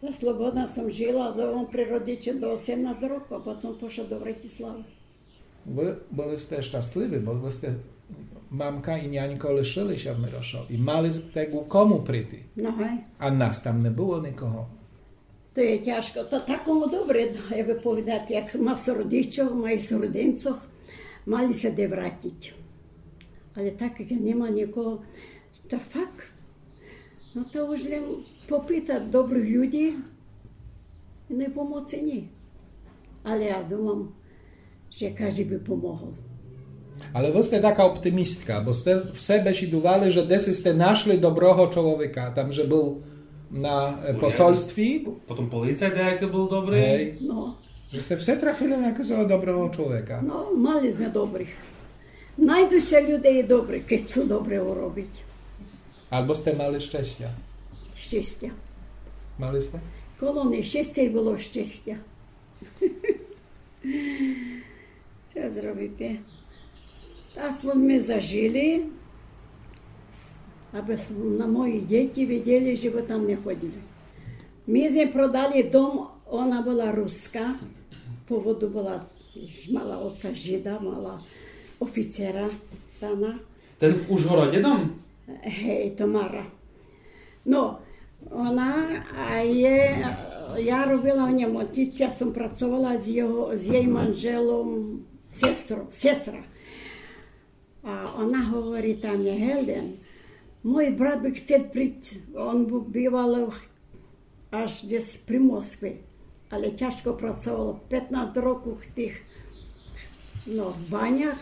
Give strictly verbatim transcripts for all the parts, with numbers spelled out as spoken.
Та слободна сом жила домом при родичох до осемнац рокох, а потом пошла до Братиславы. Вы были сте щасливы, бо вы сте, мамка и нянько лишили ся в Мирошови. И мали сте ку кому прийти. Но, гей. А нас там не было никого. То є тяжко. То такому добре, як бы повідати, як мас родичох, мас родинцох, мали ся де вратиц. Але так як нема никого, та факт. Но та уж лем попитац добрих людї, но и помоци нє. Але я думам, же кажди би помогол. Але вы сте така оптимистка, бо сте все бешідували, же деси сте нашли доброго чловека, там же был на, е, посольстві. Потом поліцай деякый был добрый. Гей. Но. Же сте все трафили на якогось доброго чловека. Но, мали зме добрих. Найду ся люде и добрі, кед цо добре уробиц. Або сте мали щестя. Щестя. Мали сте? Коло нещестя и было щестя. Цо зробице? Та смо зажили, абы с-, на мої дїти видїли, же бы там не ходили. Ми зме продали дом, она была руска, по поводу была, мала оца жида, мала офицера, та она. Тот в Ужгородї дом? Гей, Тамара. Но, она, а є, я робила в нєм, я сом працовала з його, з єй манжелом, сестром, сестра. А она говорит мені: Гелен, мой брат бы хтел приц, он бу-, бивал в-, аж десь при Москви, але тяжко працовал, петнац рокох в тых, но, в банях,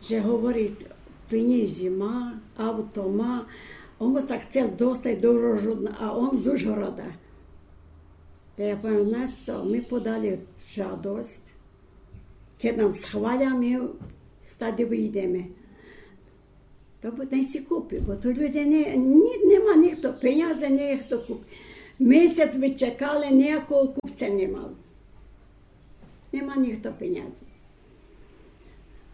же говорит, пенїзї ма, авто ма, он бы ся хтел достац до Ужгорода, а он з Ужгорода. Та я повім: знаєш цо, ми подали жадость, кед нам схваля, ми стади выйдеме. То бы най си купи, бо ту люде не, нї, нема нїхто пенязох, нїхто куп-. Месец ми чекали, ниякого купца не мал. Нема нїхто пенязох.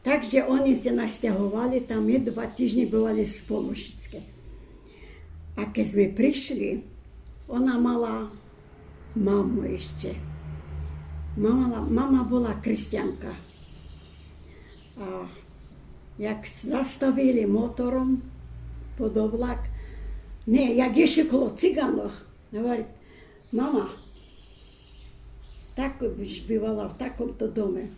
Так же они ся настяговали, там ми два тижнї бывали сполу шицки. А кед зме пришли, она мала маму ище. Мама, мама была християнка. А як заставили мотором под облак, не, як ишли коло циганох, говорит: Мама, так будеш бивала в таком-то доме.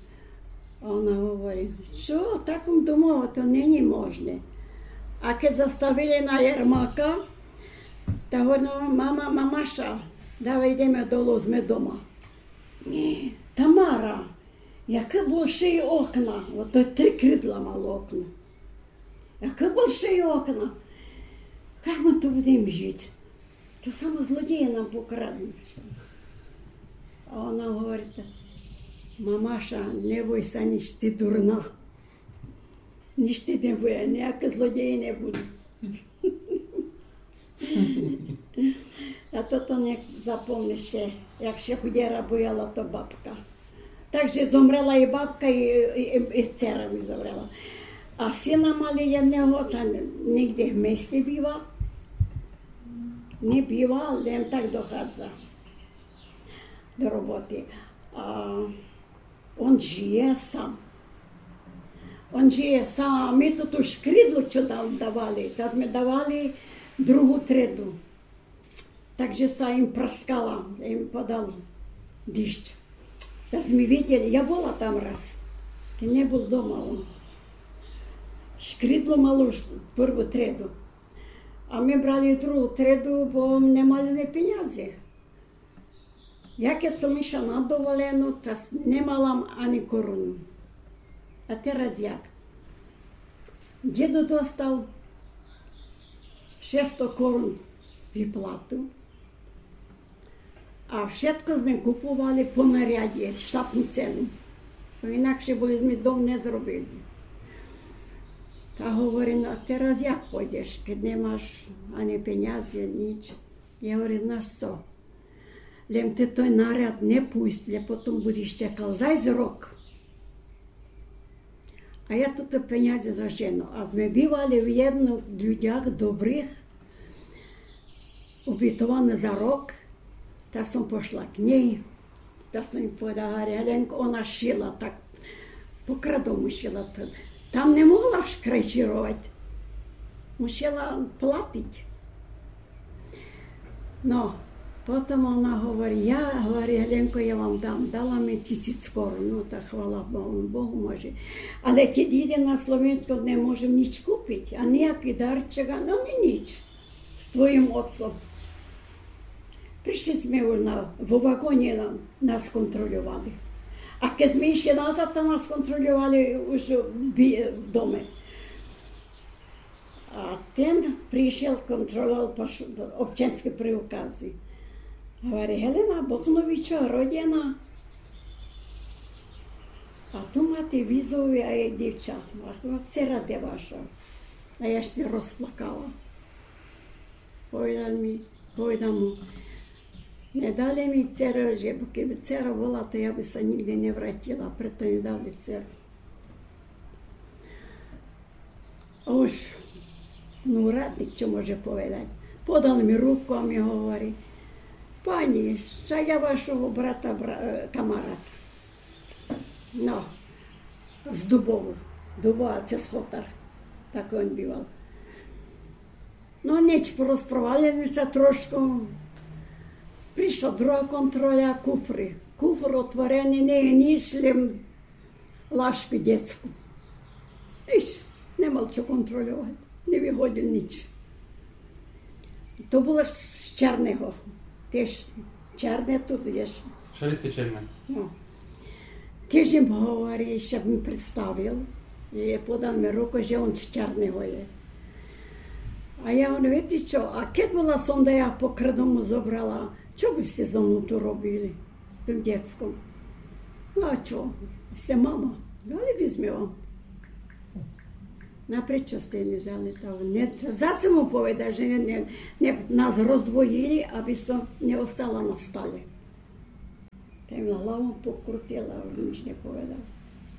А она говори: Цо, в таком дому, то нє є можне. А кед заставили на ярмарка, та говори: Мама, мамаша, давай идеме долу, зме дома. Нє, Тамара, якы большы окна, ото три кридла мало окно. Якы большы окна. Як мы ту будеме жиц? То само злодєї нам покраднут. А она говорит: Мамаша, не бой ся нїч, ти дурна. Нїч ти не буде, нїякы злодєї не будут. А тото нє запомниш ше, як ше худєра бояла, то бабка. Так же зомрела и бабка, и, и, и, и цера ми зомрела. А сина мали єдного, та нїґдзе в мести бива. Нє бива, лем так доходза до роботи. А он жиє сам. Он жиє сам, а ми ту, ту шкридлу, цо нам давали, та зме давали другу треду. Так же ся им праскала, им падал дїждж. Та зме видєли, я была там раз, кед нє бул дома он. Шкридло мало уж перву треду. А ми брали другу треду, бо нє мали ни пенязох. Як єм ся надоволена, та с-, нє мала м ани коруну. А тераз як? Дїдо достал шесто корун виплату, а вшытко зме куповали по наряді, штатну цену. Бо инакше бы зме дом нє зробили. Та говори: Но, а тераз як пойдеш, кед нє маш ани пенязох, нїч? Я говорю: Знаш цо? Лем ти тот наряд нє пущ, лем потом будеш чекал зась рок. А я тото пенязї зажену. А зме бивали в єдных людях добрых, обітовани за рок, Я сом пошла к ней, та сом єй поведала, говорю: Геленко, она шила так, по-крадому шила то. Там не могла ж крейчировать. Мусила платить. Но, потом она говорит, я, говорит, Геленко, я вам дам. Дала ми тисяч корун, ну, та хвала Богу, Богу може. Але кед їдем на Словенско, не можем нич купить, а ниякый дарчик, а, ну, ни нич з твоїм отцом. Пришли зме уж на, во вагоні на, нас контрольовали. А кед зме ішли назад, там нас контрольовали уж в бі-, в доме. А тен пришол, контрольовал паш-, обчаньскы приуказы. Говори, Гелена Бохновичова родена. А ту мате визову, а є дївча. А ту цера де ваша? А я ся розплакала. Поведал ми, поведам му, не дали ми церу, же кед би цера была, то я би ся нїґдзе не вратила, прето не дали церу. А уж, ну, радник што може поведати? Подал ми руку, а ми говори: Панї, ша я вашого брата бра-, е, камарат. Но, з Дубову. Дубова, цо Хотар. Так он бивал. Но, нич, порозпровадили зме ся трошку. Пришла друга контроля, куфри. Куфр отворени, не є нич, лєм лашку дєцку. Нич, не мал што контрольовати. Не виходил нич. То было з Черного. Тіж Черне ту, видиш. Шелесте Черне. Но. Тіж їм говори, ся ми представил. І подал ми руку, же он з Черного є. А я говорю: Віце што, а кед была сом да я по-крадому зобрала, што бы сте зо мнов ту робили? З тым дєцком. Но а што? Сте мама. Дали бы зме вам. Но а пречо сте не взяли того? Не, зас сом му поведал, же не, не, не, нас роздвоїли, абы сом не остала на стале. Та им главом покрутила, уж нич не поведал.